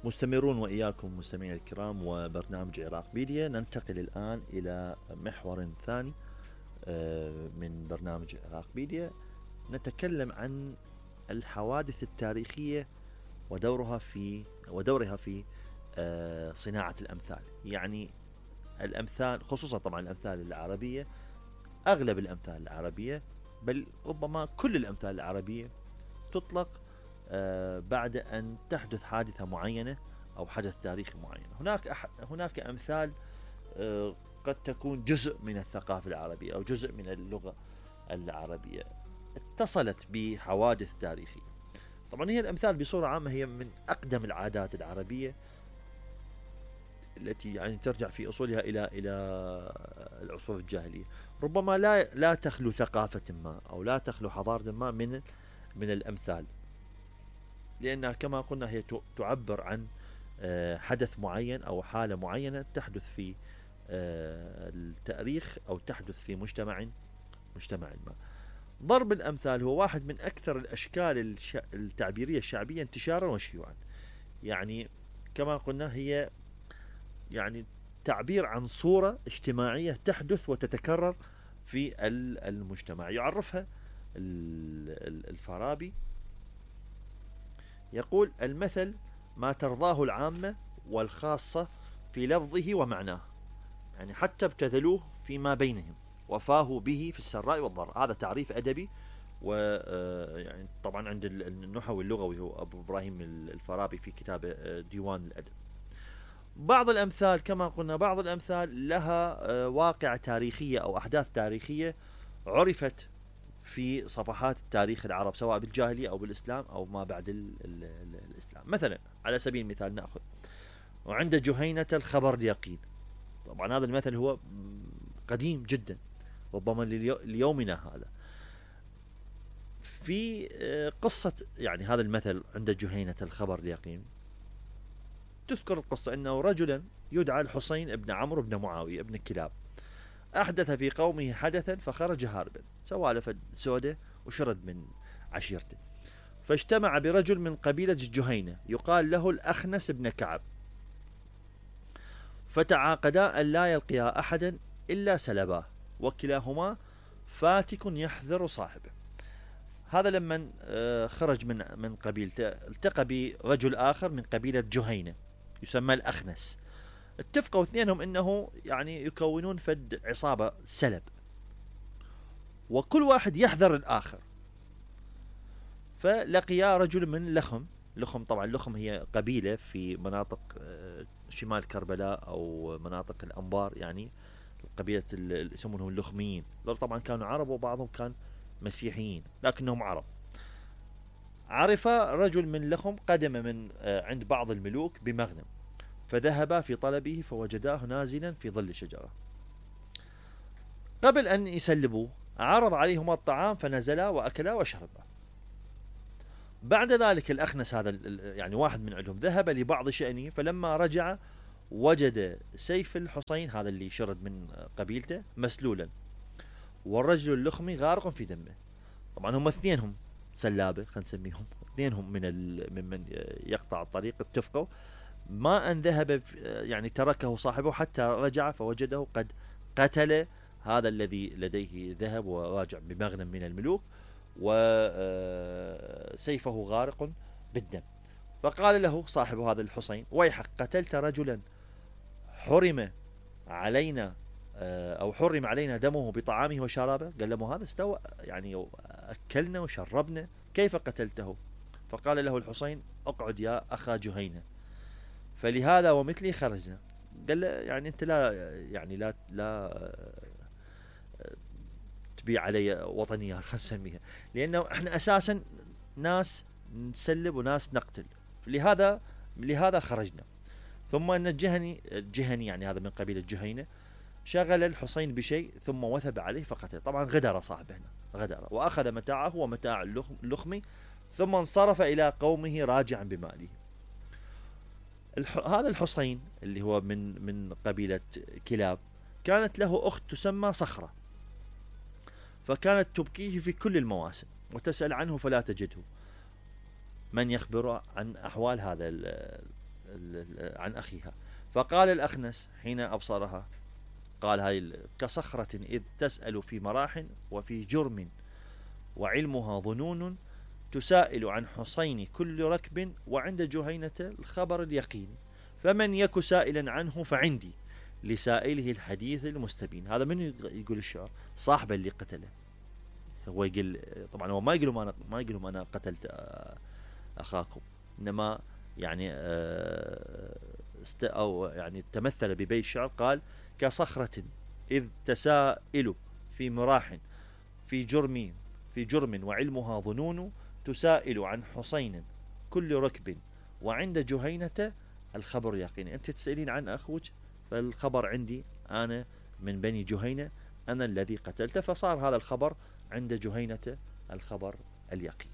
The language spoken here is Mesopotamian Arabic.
مستمرون وإياكم مستمعين الكرام وبرنامج عراقبيديا. ننتقل الآن إلى محور ثاني من برنامج عراقبيديا. نتكلم عن الحوادث التاريخية ودورها في صناعة الأمثال. يعني الأمثال خصوصا طبعا الأمثال العربية، أغلب الأمثال العربية بل ربما كل الأمثال العربية تطلق بعد أن تحدث حادثة معينة أو حدث تاريخي معين. هناك أمثال قد تكون جزء من الثقافة العربية أو جزء من اللغة العربية اتصلت بحوادث تاريخية. طبعا هي الأمثال بصورة عامة هي من أقدم العادات العربية التي يعني ترجع في أصولها إلى العصور الجاهلية. ربما لا تخلو ثقافة ما أو لا تخلو حضارة ما من الأمثال، لأنها كما قلنا هي تعبر عن حدث معين أو حالة معينة تحدث في التاريخ أو تحدث في مجتمع ما. ضرب الأمثال هو واحد من أكثر الأشكال التعبيرية الشعبية انتشارا وشيوعا. يعني كما قلنا هي يعني تعبير عن صورة اجتماعية تحدث وتتكرر في المجتمع. يعرفها الفارابي، يقول: المثل ما ترضاه العامة والخاصة في لفظه ومعناه، يعني حتى ابتذلوه فيما بينهم وفاهوا به في السراء والضراء. هذا تعريف أدبي، ويعني طبعا عند النحوي اللغوي هو أبو إبراهيم الفارابي في كتابه ديوان الأدب. بعض الأمثال كما قلنا بعض الأمثال لها واقع تاريخية أو أحداث تاريخية عرفت في صفحات التاريخ العرب سواء بالجاهلية أو بالإسلام أو ما بعد الإسلام. مثلا على سبيل المثال نأخذ: وعند جهينة الخبر اليقين. طبعا هذا المثل هو قديم جدا ربما ليومنا هذا. في قصة يعني هذا المثل عند جهينة الخبر اليقين تذكر القصة أنه رجلا يدعى الحسين ابن عمرو بن معاوية ابن كلاب أحدث في قومه حدثا فخرج هاربا، سوالف سودة وشرد من عشيرته، فاجتمع برجل من قبيلة جهينة يقال له الأخنس بن كعب، فتعاقدا أن لا يلقيا أحدا إلا سلباه، وكلاهما فاتك يحذر صاحبه. هذا لما خرج من قبيلته التقى برجل آخر من قبيلة جهينة يسمى الأخنس. اتفقوا اثنينهم انه يعني يكونون فد عصابة سلب، وكل واحد يحذر الآخر. فلقيا رجل من لخم طبعا لخم هي قبيلة في مناطق شمال كربلاء أو مناطق الأنبار، يعني قبيلة اللي يسمونهم اللخميين. دول طبعا كانوا عرب وبعضهم كان مسيحيين لكنهم عرب. عرف رجل من لخم قدم من عند بعض الملوك بمغنم، فذهبا في طلبه فوجداه نازلا في ظل شجرة. قبل أن يسلبوه عرض عليهما الطعام فنزلا وأكلا وشربا. بعد ذلك الأخنس هذا يعني واحد من عندهم ذهب لبعض شأنه، فلما رجع وجد سيف الحسين هذا اللي شرد من قبيلته مسلولا، والرجل اللخمي غارق في دمه. طبعا هم اثنينهم سلابة، خلينا نسميهم اثنينهم ممن يقطع الطريق. اتفقوا ما أن ذهب يعني تركه صاحبه حتى رجع فوجده قد قتل هذا الذي لديه ذهب وراجع بمغنم من الملوك، وسيفه غارق بالدم. فقال له صاحب هذا الحسين: ويحك، قتلت رجلا حرم علينا أو حرم علينا دمه بطعامه وشرابه. قال له: هذا استوى يعني أكلنا وشربنا، كيف قتلته؟ فقال له الحسين: اقعد يا أخا جهينة، فلهذا ومثلي خرجنا. قال له: يعني أنت لا تبيع علي وطنية، خلينا نسميها، لأنه احنا أساسا ناس نسلب وناس نقتل، لهذا خرجنا. ثم أن الجهني يعني هذا من قبيلة جهينة شغل الحسين بشيء ثم وثب عليه فقتل. طبعا غدر صاحبه هنا، وأخذ متاعه ومتاع اللخمي ثم انصرف إلى قومه راجعا بماله. هذا الحسين اللي هو من قبيلة كلاب كانت له أخت تسمى صخرة، فكانت تبكيه في كل المواسم وتسأل عنه فلا تجده من يخبر عن أحوال هذا عن أخيها. فقال الأخنس حين أبصرها، قال هاي كصخرة إذ تسأل في مراح وفي جرم وعلمها ظنون، تسائل عن حصين كل ركب وعند جهينة الخبر اليقين، فمن يك سائلا عنه فعندي لسائله الحديث المستبين. هذا من يقول الشعر؟ صاحبه اللي قتله. هو يقول طبعا هو ما يقول لهم أنا قتلت أخاكم، إنما يعني أو يعني تمثل ببيت الشعر، قال كصخرة إذ تسائل في مراح في جرم وعلمها ظنون، تسائل عن حصين كل ركب وعند جهينة الخبر يقين. أنت تسألين عن أخوك، فالخبر عندي أنا من بني جهينة، أنا الذي قتلته، فصار هذا الخبر عند جهينة الخبر اليقين.